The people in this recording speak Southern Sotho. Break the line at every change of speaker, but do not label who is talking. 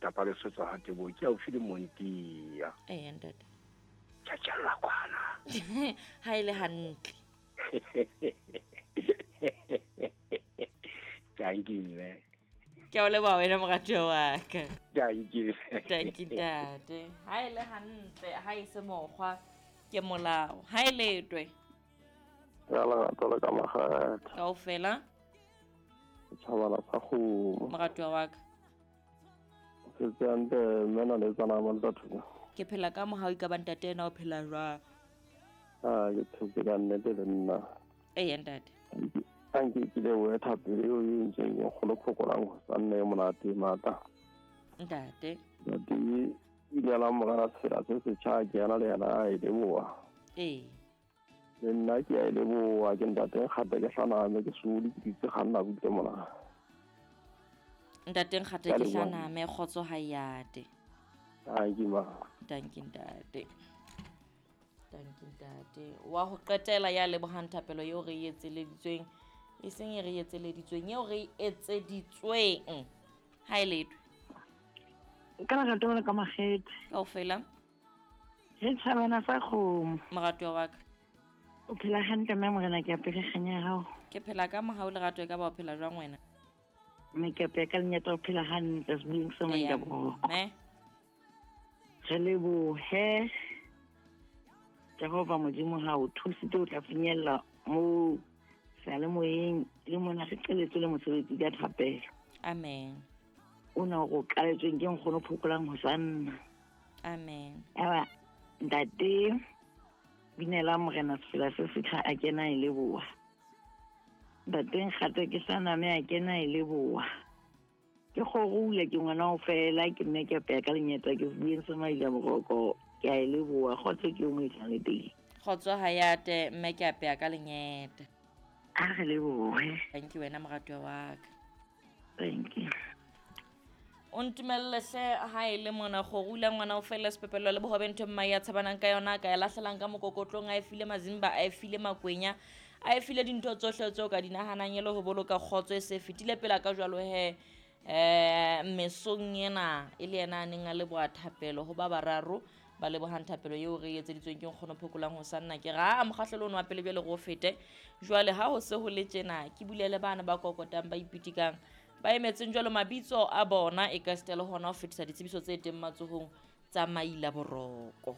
Letlapa le sotsa ha tebo ke haufi le Montia.
Eya ntate.
Tjhatjhella kwana.
Ha e le hantle.
Thank you, mme.
Ke a o leboha wena moratuwa wa ka.
Thank you.
Thank you ntate. Ha e le hantle, ha e se mokgwa ke molao. Ha e letwe.
Ya lerato le ka makgetha.
Kaofela.
Setjhabana sa kgomo.
Moratuwa wa ka.
Setse hantle mme na le tsana mo ntatho.
Ke phela ka mohau ka ba ntate ena o phela jwang?
Ah, ke phetse ka nnete le nna.
Eya ntate.
Anke ke lebohe thapelo eo e entsweng ke nkgono Phokolang ho sa nne e monate e matla.
Ntate.
Ntate inelang morena sefela se setjha ke ena le yena a e leboha.
Ee.
Le nna ke a e leboha ke ntate Nkgate ke hlaname ke sole ke ditse kganna butle mona.
Ntate Nkgate ke hlaname kgotso ha e ate.
Thank you ma.
Thank you ntate. Thank you ntate. Wa ho qetela ya lebohang thapelo eo re e etseleditsweng e seng e re etseleditsweng eo re e etseditsweng. Ha e letwe.
Ka lerato le ka makgethe.
Kaofela.
Re tjhabana sa kgomo.
Moratuwa wa ka.
O phela hantle mme morena ke apere kganya ya hao.
Ke phela ka mohau lerato e ka ba o phela jwang wena?
Mme ke apeya ka lenyata o phela hantle sebeng se
Eya,
maila boroko.
mme.
Re lebohe Jehova Modimo ha o thusitse o tla finyella mo seyalemoyeng le mona re qeletswe le mosebetsi ka thapelo.
Amen.
O na o qaletsweng ke nkgono Phokolang ho sa nna.
Amen.
Eba ntate binela morena sefela se setjha a kena e leboha. Ntate Nkgate ke sa name a kena e leboha. Ke kgorula ke ngwana o fela ke mme ke apeya ka lenyata ke bueng se maila boroko ke a e leboha kgotso ke o mo etlang le teng.
Kgotso ha ya te mme ke apeya ka lenyeta.
A re lebohe.
Thank you wena moratuwa wa ka.
Thank you.
O ntumelle hle ha e le mona kgorula ngwana o fela sepepelo le bohobe ntho mmae ya tshabanang ka yona ka e lahlelang ka mokokotlong a e file mazimba a e file makwenya a e file dintho tsohle tseo ka di nahanang e le ho boloka kgotso e se fetile pela ka jwalo he mesong ena e le yena a neng a leboha thapelo ho ba bararo ba lebohang thapelo eo re e etseditsweng ke nkgono Phokolang ho sa nna ke ra a mokgahlelo ono wa pele jwale re o fete jwale ha ho se ho le tjena ke bulele bana ba kokotang ba ipitikang ba emetseng jwalo mabitso a bona e ka sita le hona ho fetisa ditsebiso tse teng matsohong tsa maila boroko.